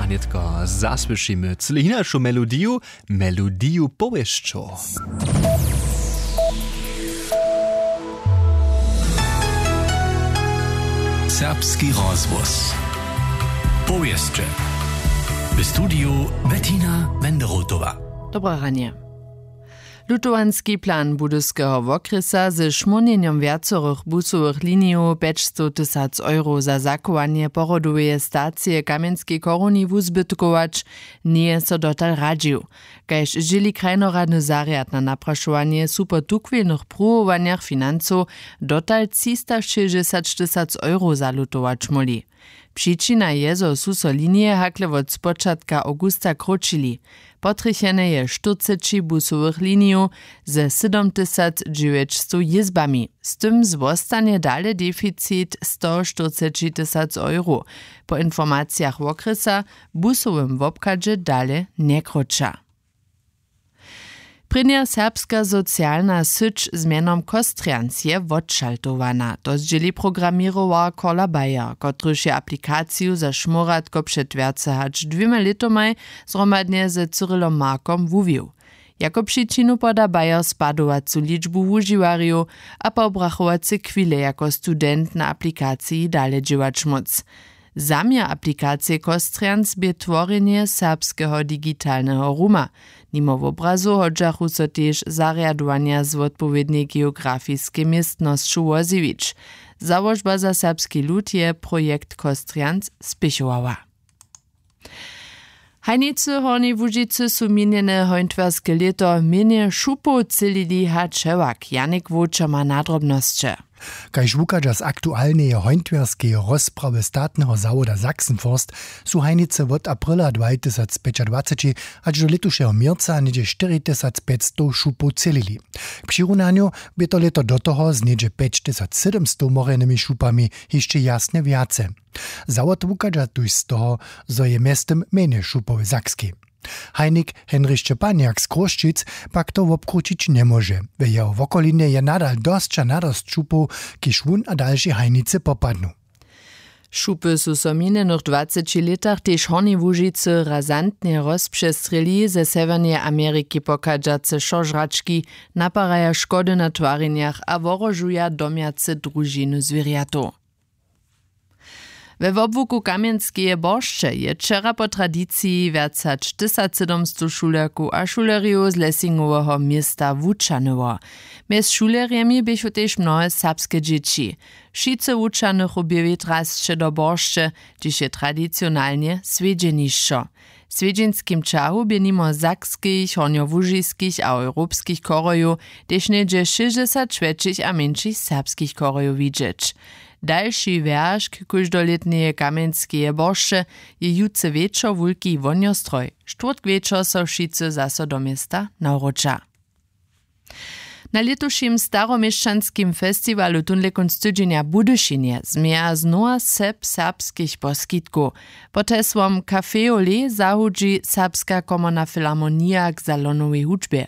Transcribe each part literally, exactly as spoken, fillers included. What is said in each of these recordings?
Nětko zasłyšimy cyle hinašu melodiju, melodiju powěsćow. Serbski rozhłos. Powěsće. W studiju Bettina Wenderotowa. Dobre ranje. Lutowanski plan Budyskeho wokrjesa ze šmónjenjom wjacorych busowych linijow pjećstowtysac euro za zachowanje porodoweje stacije w Kamjenskej choruni wuzbytkować njeje so dotal radźił. Kaž dźěli krajnoradny zarjad na naprašowanje su po tuchwilnych pruwowanjach financow dotal třistašěsćdźesaćtysac euro zalutować móhli. Přičina je, zo su so linije hakle wot spočatka awgusta króćili. Potrjechene je štyrceći busowych linijow ze sydomtysacdźewjećstow jězbami. Z tym zwostanje dale deficit stoštyrcećitysac euro. Po informacijach wokrjesa w busowym wobchadźe dale njekróća. Prěnja serbska socialna syć z mjenom Kostrjans je wotšaltowana. To zdźěli programěrowarka Kola Bayer, kotryž je aplikaciju za šmóratko před wjace hač dwěma lětomaj zhromadnje ze Cyrillom Markom wuwił. Jako přičinu poda Bayer spadowacu ličbu wužiwarjow a pobrachowace chwile jako student na aplikaciji dale dźěłać móc. Zaměr aplikacije Kostrjans bě tworjenje serbskeho digitalneho ruma. Nimo wobrazow hodźachu so tež zarjadowanja z wotpowědnej geografiskej městnosću wozjewić. Załožba za serbski lud je projekt Kostrjans spěchowała. Hajnicy Hornjeje Łužicy su minjene hońtwarske lěto mjenje šupow třělili hač hewak. Janik Wowčer ma na drobnosće. Kaž wuchadźa z aktualneje hońtwarskeje rozprawy statneho zawoda Sachsenforst, su hajnicy wot aprila dwatysacpjećadwaceći hač do lětušeho měrca něhdźe štyri tysac pjećstow šupow třělili. K přirunanju bě to lěto do toho z něhdźe pjećtysacsydomstow morjenymi šupami hišće jasnje wjace. Zawod wuchadźa tuž z toho, zo je mjeztym mjenje šupow w Sakskej. Hajnik Henrich Šćepanjak z Chrósćic pak to wobkrućić njemóže. W jeho wokolinje je nadal dosća nadosć šupow, kiž wón a dalši hajnicy popadnu. Šupy su so w minjenych dwaceći lětach tež w Hornjej Łužicy razantnje rozpřestrěli. Ze Sewjerneje Ameriki pochadźace wšožrački naparaja škody na twarjenjach a wohrožuja domjace družiny zwěrjatow. We wobłuku Kamjenskeje boršće je wčera po tradiciji wjac hač tysacsydomstow šulerkow a šulerjow z Lesingoweho města wućahnyło. Mjez šulerjemi běchu tež mnohe serbske dźěći. Wšitcy wućahnychu bě wětrasće do boršće, hdźež je tradicionalnje swjedźenišćo. W swjedźenskim ćahu bě nimo sakskich, hornjołužiskich a europskich chorojow tež něhdźe šěsćdźesat wjetšich a mjeńšich serbskich chorojow widźeć. Dalši wjeršk kóždolětneje Kamjenskeje boršće je jutře wječor wulki wonjostroj. Štwórtk wječor so wšitcy zaso do města nawróća. Na lětušim staroměšćanskim festiwalu tónle kónc tydźenja w Budyšinje změja znowa sep serbskich poskitkow. Pod hesłom Café au lait zahudźi Serbska komorna filharmonija k salonowej hudźbje.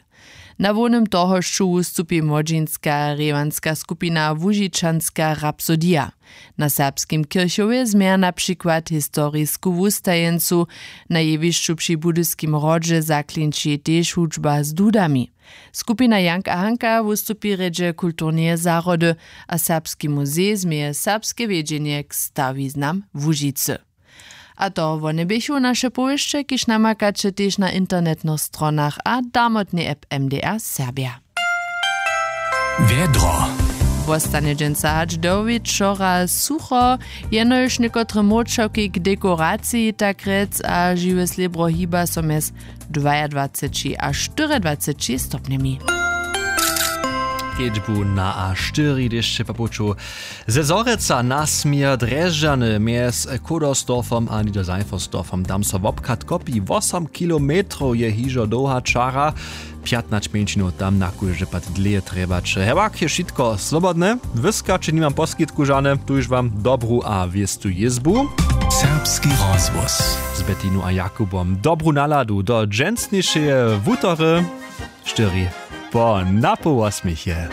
Na hłownym tohošću wustupi młodźinska rěwanska skupina Łužičanska rapsodija. Na serbskim kěrchowje změja na přikład historisku wustajeńcu. Na jewišću při Budyskim hrodźe zaklinči tež hudźba z dudami. Skupina Jank a Hanka wustupi rjedźe kulturneje zahrody a Serbski muzej změje serbske wjedźenje k stawiznam Łužicy. A to wone běchu naše powěsće, kiž namakaće tež na internetnych stronach a damotnej app M D R Serbja. Wjedro. Wostanje dźensa hač do wječora sucho, jenož někotre młóčawki k dekoraciji tak rjec a žiwe slěbro hiba so mjez dwajadwaceći a štyriadwaceći stopnjemi. Kedźbu na a štyri dešće po puću ze Zhorjelca na směr Drježdźany mjez Kudersdorfom a Niederseiffersdorfom. Tam so wobchad kopi, wosom kilometrow je hižo dołha čara. Pjatnaće mjeńšinow tam na kóždy pad dlěje trjebaće. Hewak je wšitko slobodne. Wyskaće, nimam poskitku žane. Tuž wam dobru a wěstu jězbu. Serbski rozhłos z Betinu a Jakubom. Dobru naladu do dźensnišeje wutory. Štyri po napoł wosmich je.